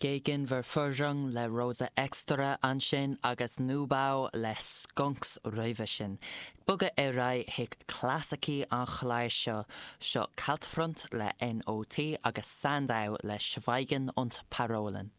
Gegenverführung le Rosa Extra ansin agus Neubau le Skunks roimhe sin. Bogadh ar aghaidh chuig clasaicí an chláir seo, seo Kaltfront le NOT agus Sandau le Schweigen und Parolen.